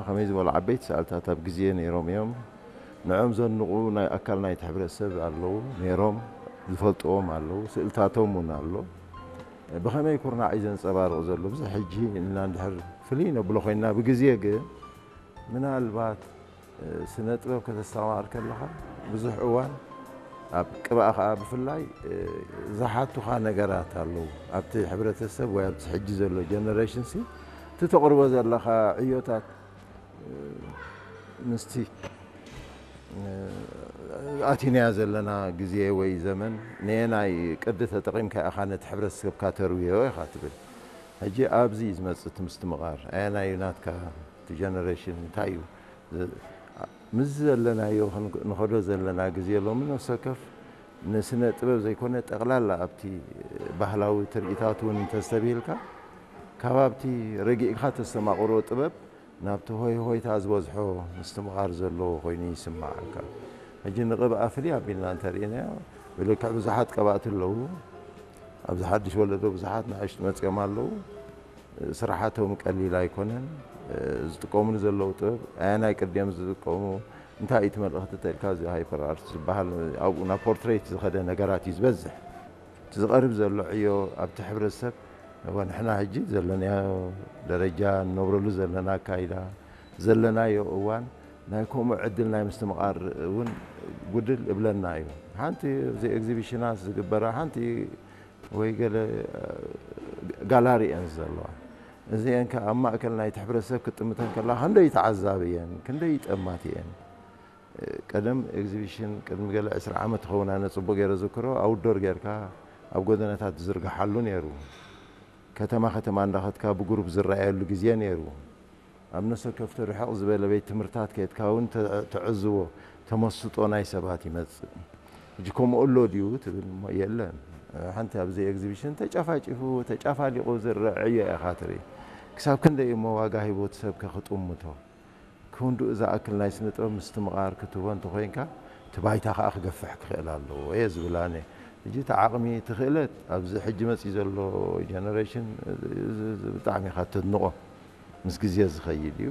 ከመይ ዝበሉ ዓበይቲ ሰኣልታት ኣብ ግዜ ነይሮም እዮም። ንዕኦም ዘንቑ ናይ ኣካል ናይቲ ሕብረተሰብ ኣለዉ ነይሮም፣ ዝፈልጥዎም ኣለዉ፣ ስእልታቶም እውን ኣሎ። ብኸመይ ኩርናዕ እዩ ዘንጸባርቕ ዘሎ? ብዙሕ ሕጂ ኢልና እንድሕር ፍልይ ነብሎ ኮይንና፣ ብግዜ ግን ምናልባት ስነ ጥበብ ከተስተማቕር ከለኻ ብዙሕ እዋን ኣብ ቅብኣ ኸዓ ብፍላይ ዝሓቱኻ ነገራት ኣለዉ። ኣብቲ ሕብረተሰብ ወይ ኣብቲ ሕጂ ዘሎ ጀነሬሽን ሲ እቲ ተቕርቦ ዘለኻ ዕዮታት ምስቲ ኣቲናያ ዘለና ግዜ ወይ ዘመን ነየናይ ቅዲ ተጠቒምካ ኢኻ ነቲ ሕብረተሰብካ ተርውዮ ኢኻ ትብል። ሕጂ ኣብዚ እዩ ዝመጽእ እቲ ምስትምቓር። ኣየናይ እዩ ናትካ እቲ ጀነሬሽን እንታይ እዩ? ዝ-፣ ምስ ዘለናዮ ክን-፣ ንኸዶ ዘለና ግዜ ሎሚ ነፍሲ ወከፍ ንስነ ጥበብ ዘይኮነ ጠቕላላ ኣብቲ ባህላዊ ትርኢታት እውን እንተስተብሂልካ ካብ ኣብቲ ረጊእካ ተስተማቕሮ ጥበብ ናብቲ ሆይ ሆይታ ዝበዝሖ ምስትምቓር ዘለዎ ኮይኑ ይስምዓካ። ሕጂ ንቕብኣ ፍልይ ኣቢልና እንተርኢናዮ ብልክዕ ብዙሓት ቀባእቲ ኣለዉ። ኣብዚ ሓድሽ ወለዶ ብዙሓት ንኣሽቱ መጺኦም ኣለዉ። ስራሓቶም ቀሊል ኣይኮነን። ዝጥቀሙሉ ዘለዉ ጥበብ ኣየናይ ቅዲ እዮም ዝጥቀሙ፣ እንታይ እዩ እቲ መልእኽቲ ተልካ እዚ ሃይፐር ኣርት ዝበሃል ኣብኡ ናብ ፖርትሬት ዝኸደ ነገራት እዩ ዝበዝሕ። እቲ ዝቐርብ ዘሎ ዕዮ ኣብቲ ሕብረተሰብ እወ ንሕና ሕጂ ዘለናዮ ደረጃ፣ ንነብረሉ ዘለና ኣካይዳ፣ ዘለናዮ እዋን ናይ ከምኡ ዕድል ናይ ምስትምቓር እውን ጉድል እብለና እዩ። ሓንቲ እዚ ኤግዚቢሽናት ዝግበራ ሓንቲ ወይ ገለ ጋላሪ እየን ዘለዋ። እዚአን ከ ኣብ ማእከል ናይቲ ሕብረተሰብ ክትጥምተን ከላ ክንደይ ተዓዛቢ እየን፣ ክንደይ ጠማት እየን። ቀደም ኤግዚቢሽን ቅድሚ ገለ ዕስራ ዓመት ይኸውን ኣነ ጽቡቕ ገይረ ዝክሮ ኣውትዶር ጌርካ ኣብ ጎደናታት ዝዝርግሓሉ ነይሩ። ከተማ ከተማ እንዳኸድካ ብግሩፕ ዝረኣየሉ ግዜ ነይሩ። ኣብ ነፍሲ ወከፍቲ ርሕቕ ዝበለ ቤት ትምህርታት ከድካ እውን ተ-፣ ተዕዝቦ ተመስጦ ናይ ሰባት ይመጽእ። ሕጂ ከምኡ ኣሎ ድዩ ትብል እሞ የለን። ሓንቲ ኣብዚ ኤግዚቢሽን ተጨፋጭፉ ተጨፋሊቑ ዝረአ ዕዮ ኢኻ ትርኢ። ክሳብ ክንደይ እሞ ዋጋ ሂቦ እቲ ሰብ ከ ክጥምቶ? ክንድኡ ዝኣክል ናይ ስነ ጥበብ ምስትምቓር ክትህቦ እንተኾይንካ እቲ ባይታ ከኣ ክገፍሕ ክኽእል ኣለዎ እየ ዝብል ኣነ። ሕጂ እቲ ዓቕሚ እቲ ክእለት ኣብዚ ሕጂ መጺኡ ዘሎ ጀነሬሽን እዚ፣ እዚ ብጣዕሚ ኢኻ ተድንቖ። ምስ ግዜ ዝኸይድ እዩ።